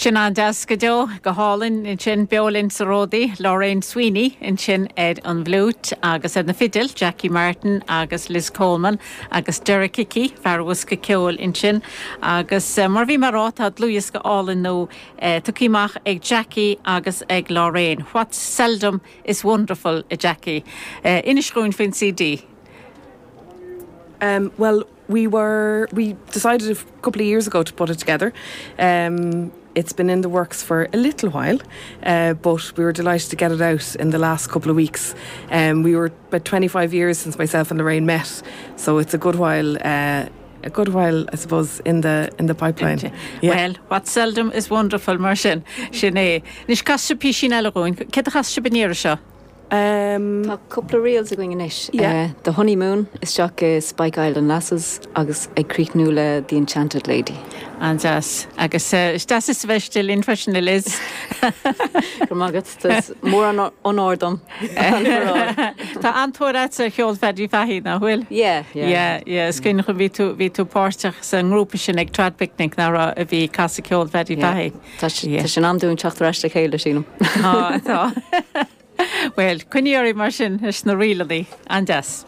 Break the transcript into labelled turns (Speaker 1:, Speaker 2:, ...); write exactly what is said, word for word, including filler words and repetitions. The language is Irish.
Speaker 1: Sin an-deas go deo go hálainn ansin beo linn sa Ródaí, Lorraine Sweeney ansin ar an bhfliúit agus ar na fidil, Jackie Martin agus Liz Coleman agus Derek Hickey, fear an bhosca ceoil ansin. Agus eh, mar bhí mé ag rá tá dlúthdhiosca álainn nua eh, tugtha amach ag Jackie agus ag Lorraine. What's seldom is wonderful, a Jackie. Uh, Inis dúinn faoin CD.
Speaker 2: Um, well, we were we decided a couple of years ago to put it together. Um, it's been in the works for a little while, uh, but we were delighted to get it out in the last couple of weeks. Um, we were about twenty-five years since myself and Lorraine met, so it's a good while. Uh, a good while, I suppose, in the in the pipeline.
Speaker 1: Yeah. Well, what seldom is wonderful mar sin sin é. Anois casfaidh sibh píosa eile dúinn, Céard a chas sibh an iarraidh seo?
Speaker 2: Um,
Speaker 3: Tá cúpla reels againn anois.
Speaker 2: Yeah.
Speaker 3: Uh, the Honeymoon isteach i Spike Island Lasses agus ag críochnú le The Enchanted Lady.
Speaker 1: An-deas agus uh, is deas is bheith linn freisin Liz.
Speaker 3: Go magat mór an onóir dom.
Speaker 1: Tá an-tóir agat ar cheol Phaddy Fahey nach bhfuil?
Speaker 3: Yeah, yeah.
Speaker 1: Yeah, yeah, is cuimhin liom bhí tú bhí tú páirteach sa ngrúpa sin ag Trad Picnic ná a bhí ag casadh ceol Phaddy Fahey.
Speaker 3: Tá sin am dúinn teacht ar ais le chéile sílim.
Speaker 1: Tá tá. Well, coinníorí mar sin is na rílaní an-deas.